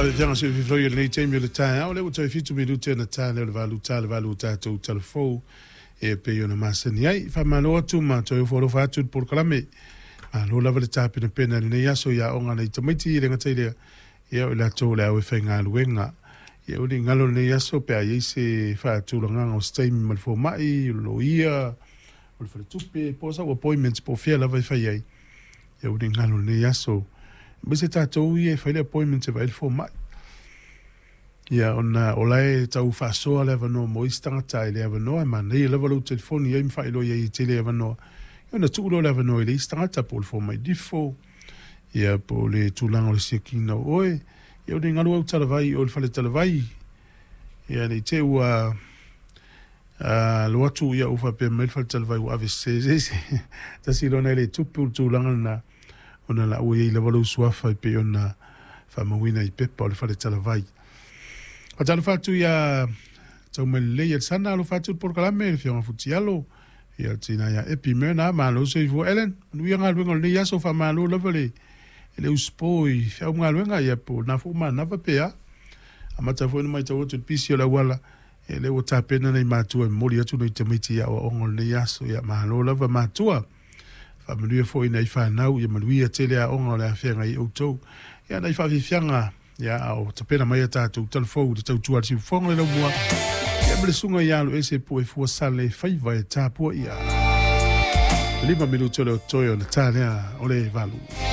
Faafetai se fifilo i lenei taimi o le taeao, lea ua toe 7 minute ona ta lea o le 8 ta le 8 o tatou talafou e pei ona masani ai. Faamalo atu ma toe ofo alofa atu i le polokalame. Malo lava le tapenapena i lenei aso i aoga a nai tamaiti e le gata i lea, ia o i latou o le au e faigaluega. Ia aua ne i galo lenei aso pe a i ai se faatulagaga o se taimi ma le fomai, o le loia, o le faletupe, po o sau appointment po o fea lava e fai ai. Ia aua ne i galo lenei aso. Aemaise tatou ia e fai le appointment e vaai le fomai. Ia ona o la e tau faasoa le avanoa mo isi tagata i le avanoa, e manaia lava lou telefoni i ai ma faailoa i ai e tele avanoa. Ia ona tuu lea o le avanoa i le isi tagata po o le fomai nifo, ia po o le tulaga o le siakiina o oe. Ia aua ne i galo au talavai i o i le fale talavai. Ia ne i te i ua alu atu ia ua faapea mai le fale talavai ua ave sese e se isi. Tasi loa na e le tupu le tulaga lena, ona la ua i ai lava lou suafa e pei ona faamauina i pepa o le fale talavai. Faatalofa atu ia Taumailelei Alesana, alofa atu i le polokalame, le Afioga Futialo, ia le tina ia Epi Myrna, malo soifua. Ellen, manuia galuega o lenei aso, faamalo lava le le usupo i feau ma galuega, ia po o lena foi ua manava pe a. Amata foi ona matau atu i le pisi o le auala, ia lea ua tapena nai matua e momoli atu nai tamaiti i aoaoga o lenei aso. Ia malo lava matua. Faamanuia foi i nai fanau, ia manuia tele aoga o le a feagai ai outou. Ia nai faafiafiaga, ia a o tapena mai a tatou talafou i le tautua a le siufofoga le laumua, ia ma le susuga ia Aloese Puefua Sale faiva e tapuaia. 5 minute o le o totoe ona ta lea o le 8.